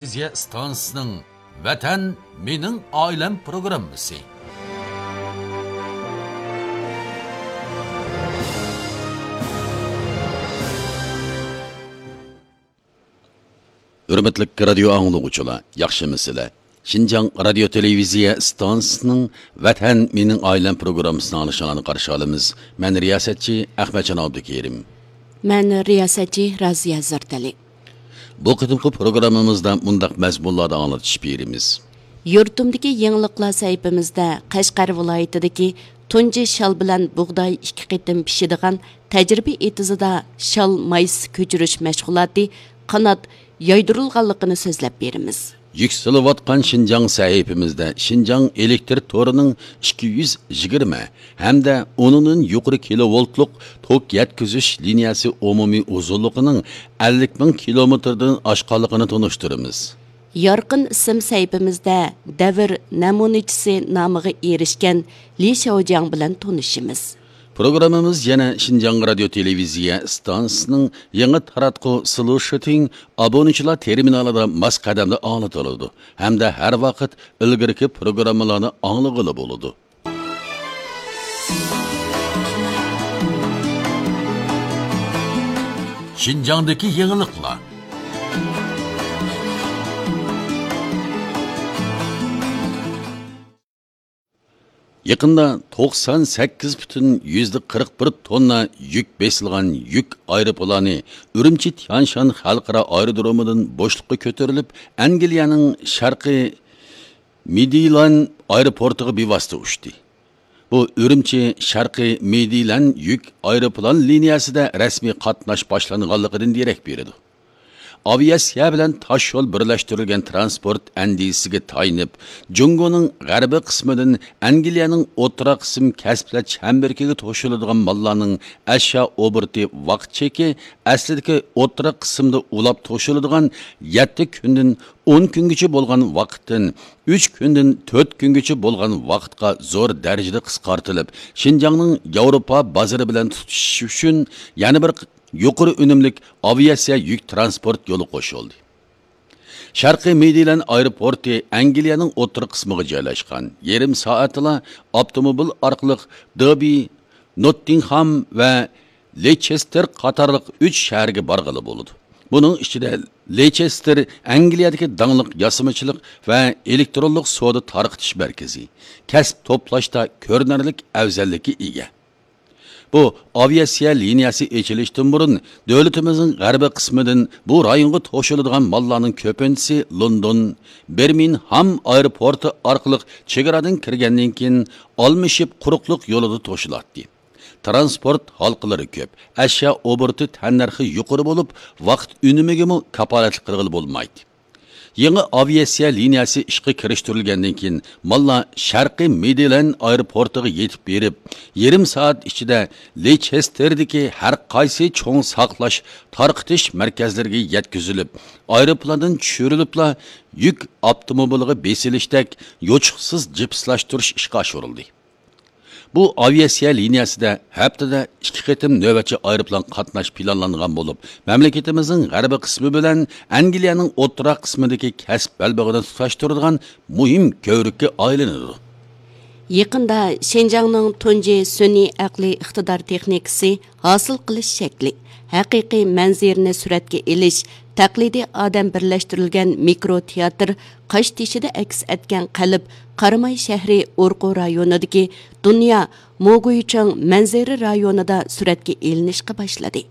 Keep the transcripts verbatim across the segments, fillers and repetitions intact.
تېلېۋىزىيە ئىستانسىسىنىڭ ۋەتەن مېنىڭ ئائىلەم پروگراممىسى. ھۆرمەتلىك رادىيو ئاڭلىغۇچىلار، ياخشىمۇسىلەر؟ شىنجاڭ رادىيو تېلېۋىزىيە ئىستانسىسىنىڭ ۋەتەن مېنىڭ ئائىلەم پروگراممىسىنى ئاڭلىشىڭلارنى قارشى ئالىمىز. مەن رىياسەتچى ئەخمەتجان ئابدۇكېرىم. مەن رىياسەتچى رازىيە زەردەلى. بۇ قېتىمقى پروگراممىمىزدا مۇنداق مەزمۇنلاردا ئاڭلىتىش بېرىمىز. يۇرتۇمدىكى يېڭىلىقلار سەھىپىمىزدە قەشقەر ۋىلايىتىدىكى تۇنجى شال بىلەن بۇغداي ئىككى قېتىم پىشىدىغان تەجرىبە ئېتىزىدا شال مايسىسى كۆچۈرۈش مەشغۇلاتى قانات يايدۇرۇلغانلىقىنى سۆزلەپ بېرىمىز. يۈكسىلىۋاتقان شىنجاڭ سەھىپىمىزدە شىنجاڭ ئېلېكتر تورىنىڭ ئىككى يۈز يىگىرمە ھەمدە ئۇنىڭدىن يۇقىرى كىلوۋولتلۇق توك يەتكۈزۈش لىنىيەسى ئومۇمىي ئۇزۇنلۇقىنىڭ ئەللىك مىڭ كىلومېتىردىن ئاشقانلىقىنى تونۇشتۇرىمىز. يارقىن ئىسىم سەھىپىمىزدە دەۋر نەمۇنىچىسى نامىغا ئېرىشكەن لى شياۋجياڭ بىلەن تونۇشىمىز. پروگراممىمىز يەنە شىنجاڭ رادىيو تېلېۋىزىيە ئىستانسىسىنىڭ يېڭى تاراتقۇ سلۇشىتىڭ ئابۇنىچىلار تېرمىنالىدا ماس قەدەمدە ئاڭلىتىلىدۇ ھەمدە ھەر ۋاقىت ئىلگىرىكى پروگراممىلارنى ئاڭلىغىلى بولىدۇ. شىنجاڭدىكى يېڭىلىقلار. يېقىندا توقسان سەككىز پۈتۈن يۈزدە قىرىق بىر توننا يۈك بېسىلغان يۈك ئايروپىلانى ئۈرۈمچى تيانشان خەلقئارا ئايرودرومىدىن بوشلۇققا كۆتۈرۈلۈپ، ئەنگلىيەنىڭ شەرقىي مىدلاند ئايروپورتىغا بىۋاسىتە ئۇچتى. بۇ ئۈرۈمچى شەرقىي مىدلاند يۈك ئايروپىلان لىنىيەسىدە رەسمىي قاتناش باشلانغانلىقىدىن دېرەك بېرىدۇ. ئاۋىئاتسىيە بىلەن تاش يول بىرلەشتۈرۈلگەن تىرانسپورت ئەندىزىسىگە تايىنىپ، جۇڭگونىڭ غەربىي قىسمىدىن ئەنگلىيەنىڭ ئوتتۇرا قىسىم كەسىپلەر چەمبىرىكىگە توشۇلىدىغان ماللارنىڭ ئەشيا ئوبوروتى ۋاقىت چېكى ئەسلىدىكى ئوتتۇرا قىسىمدا ئۇلاپ توشۇلىدىغان يەتتە كۈندىن ئون كۈنگىچە بولغان ۋاقىتتىن ئۈچ كۈندىن تۆت كۈنگىچە بولغان ۋاقىتقا زور دەرىجىدە قىسقارتىلىپ، شىنجاڭنىڭ ياۋروپا بازىرى بىلەن تۇتىشىش ئۈچۈن يەنە بىر يۇقىرى ئۈنۈملۈك ئاۋىئاتسىيە يۈك تىرانسپورت يولى قوشۇلدى. شەرقىي مىدلاند ئايروپورتى ئەنگلىيەنىڭ ئوتتۇرا قىسمىغا جايلاشقان. يېرىم سائەتتىلا ئاپتوموبىل ئارقىلىق دېربى، نوتتىنغھام ۋە لېچېستېر قاتارلىق ئۈچ شەھەرگە بارغىلى بولىدۇ. بۇنىڭ ئىچىدە لېچېستېر ئەنگلىيەدىكى داڭلىق ياسىمىچىلىق ۋە ئېلېكترونلۇق سودا تارقىتىش مەركىزى، كەسىپ توپلاشتا كۆرۈنەرلىك ئەۋزەللىككە ئىگە. بۇ ئاۋىئاتسىيە لىنىيەسى ئېچىلىشتىن بۇرۇن، دۆلىتىمىزنىڭ غەربىي قىسمىدىن بۇ رايونغا توشۇلىدىغان ماللارنىڭ كۆپىنچىسى لوندون، بىرمىنغھام ئايروپورتى ئارقىلىق چېگرادىن كىرگەندىن كېيىن ئالمىشىپ قۇرۇقلۇق يولىدا توشۇلاتتى. تىرانسپورت ھالقىلىرى كۆپ، ئەشيا ئوبوروتى تەننەرخى يۇقىرى بولۇپ، ۋاقىت ئۈنۈمىگىمۇ كاپالەتلىك قىلغىلى بولمايتتى. يېڭى ئاۋىئاتسىيە لىنىيەسى ئىشقا كىرىشتۈرۈلگەندىن كېيىن، ماللار شەرقىي مىدلاند ئايروپورتىغا يېتىپ بېرىپ، يېرىم سائەت ئىچىدە لېچېستېردىكى ھەر قايسى چوڭ ساقلاش، تارقىتىش مەركەزلىرىگە يەتكۈزۈلۈپ، ئايروپىلاندىن چۈشۈرۈلۈپلا يۈك ئاپتوموبىلىغا بېسىلىشتەك يوچۇقسىز جىپسلاشتۇرۇش ئىشقا ئاشۇرۇلدى. بۇ ئاۋىئاتسىيە لىنىيەسىدە ھەپتىدە ئىككى قېتىم نۆۋەتچى ئايروپىلان قاتناش پىلانلانغان بولۇپ، مەملىكىتىمىزنىڭ غەربىي قىسمى بىلەن ئەنگلىيەنىڭ ئوتتۇرا قىسمىدىكى كەسىپ بەلبېغىنى تۇتاشتۇرىدىغان مۇھىم كۆۋرۈككە ئايلىنىدۇ. يېقىندا شىنجاڭنىڭ تۇنجى سۈنئىي ئەقلىي ئىقتىدار تېخنىكىسى ھاسىل قىلىش شەكلى، ھەقىقىي مەنزىرىنى سۈرەتكە ئېلىش، تەقلىدىي ئادەم بىرلەشتۈرۈلگەن مىكرو تىياتىر قاشتېشىدا ئەكس ئەتكەن قەلب قاراماي شەھىرى ئورقۇ رايونىدىكى دۇنيا موگۇيچىڭ مەنزىرە رايونىدا سۈرەتكە ئېلىنىشقا باشلىدى.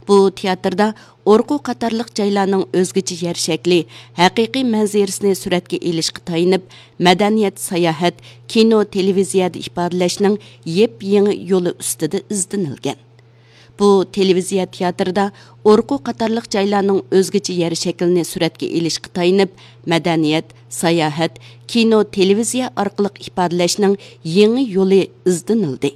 بۇ تىياتىردا ئورقۇ قاتارلىق جايلارنىڭ ئۆزگىچە يەر شەكلى، ھەقىقىي مەنزىرىسىنى سۈرەتكە ئېلىشقا تايىنىپ، مەدەنىيەت، ساياھەت، كىنو، تېلېۋىزىيەدە ئىپادىلەشنىڭ يېپيېڭى يولى ئۈستىدە ئىزدىنىلگەن. بۇ تېلېۋىزىيە تىياتىرىدا ئورقۇ قاتارلىق جايلارنىڭ ئۆزگىچە يەر شەكلىنى سۈرەتكە ئېلىشقا تايىنىپ، مەدەنىيەت، ساياھەت، كىنو، تېلېۋىزىيە ئارقىلىق ئىپادىلەشنىڭ يېڭى يولى ئىزدىنىلدى.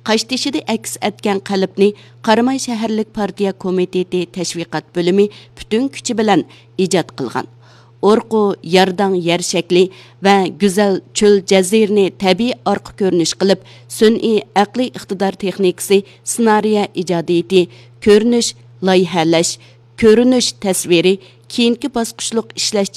قاشتېشىدا ئەكس ئەتكەن قەلبنى قاراماي شەھەرلىك پارتىيە كومىتېتى تەشۋىقات بۆلۈمى پۈتۈن كۈچى بىلەن ئىجاد قىلغان. ئورقۇ يارداڭ يەر شەكلى ۋە گۈزەل چۆل جەزىرىنى تەبىئىي ئارقا كۆرۈنۈش قىلىپ، سۈنئىي ئەقلىي ئىقتىدار تېخنىكىسى، سېنارىيە ئىجادىيىتى، كۆرۈنۈش، لايىھەلەش، كۆرۈنۈش تەسۋىرى، كېيىنكى باسقۇچلۇق ئىشلەش